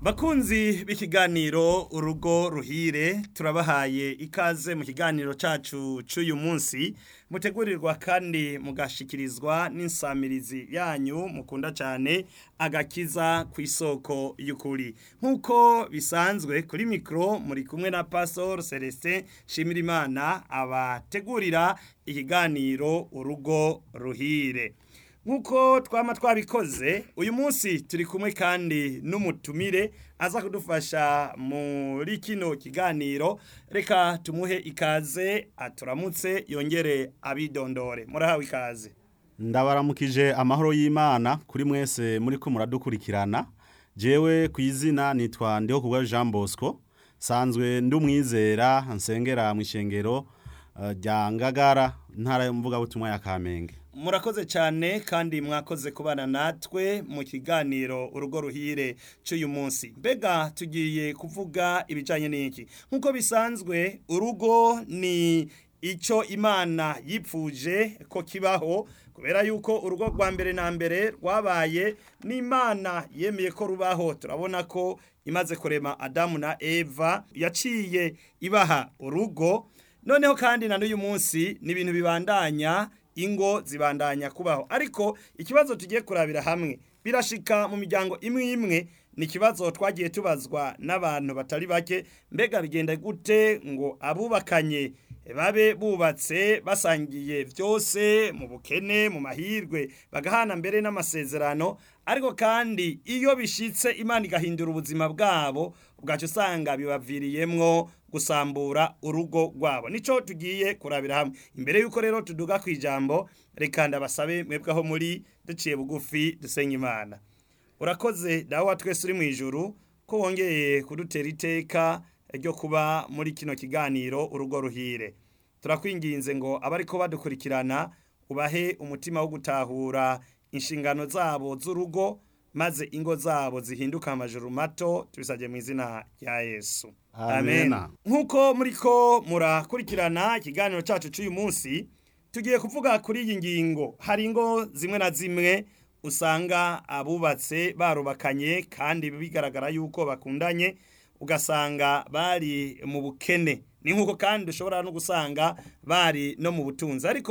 Bakunzi b'ikiganiro Urugo Ruhire, turabahaye ikaze mu kiganiro cacu c'uyu munsi, mutegurirwa kandi mugashikirizwa n'insamirizi yanyu mukunda cane, Agakiza kw'isoko y'ukuri. Nk'uko bisanzwe kuri mikro muri kumwe na Pastor Celestin Nshimirimana abategurira ikiganiro Urugo Ruhire. Nk'uko twama twabikoze, uyu munsi turi kumwe kandi n'umutumire aza kudufasha muri kino kiganiro. Reka tumuhe ikaze aturamutse yongere abidondore. Murahawe ikaze. Ndabaramukije amahoro y'Imana kuri mwese muriko muradukurikirana. Jewe kw'izina nitwa Ndihokubwayo Jean Bosco, sanzwe ndumwizera nsengera mw'ishengero rya Ngagara, ntara y'Umuvugabutumwa ya Kamenge. Murakoze cyane kandi mwakoze kubana natwe mu kiganiro Urugo Ruhire c'uyu munsi. Mbega tugiye kuvuga ibijanye n'iki? Nk'uko bisanzwe, urugo ni ico Imana yipfuje ko kibaho, kubera yuko urugo rwa mbere na mbere rwabaye n'Imana yemeye ko rubaho. Turabona ko imaze kurema Adamu na Eva yaciye ibaha urugo. Noneho kandi na n'uyu munsi ni ibintu bibandanya, ingo zibandanya kubaho. Ariko ikibazo tugiye kurabira hamwe, birashika mu miryango imwe imwe, ni ikibazo twagiye tubazwa n'abantu batari bake. Mbega bigenda gute ngo abubakanye babe bubatse basangiye vyose mu bukene, mu mahirwe, bagahana mbere n'amasezerano, ariko kandi iyo bishitse Imana igahindura ubuzima bwabo, ubwacu usanga bibaviriyemwo gusambura urugo rwabo. Nico tugiye kurabira hamwe. Imbere yuko rero tuduga kwijambo, reka ndabasabe mwebwe aho muri duciye bugufi dusenye Imana. Urakoze Dawe wa twese uri mw'ijuru ko wongeye kudutera iteka ryo kuba muri kino kiganiro Urugo Ruhire. Turakwinginze ngo abariko badukurikirana ubahe umutima wo gutahura inshingano zabo z'urugo, maze ingo zabo zihinduka amajuru mato. Tubisabye mu izina rya Yesu. Amen. Nk'uko muriko murakurikirana ikiganiro cacu c'uyu munsi, tugiye kuvuga kuri iyi ngingo. Hari ingo zimwe na zimwe usanga abubatse barubakanye kandi bigaragara yuko bakundanye, ugasanga bari mu bukene. Ni nk'uko kandi ushobora no gusanga bari no mu butunzi, ariko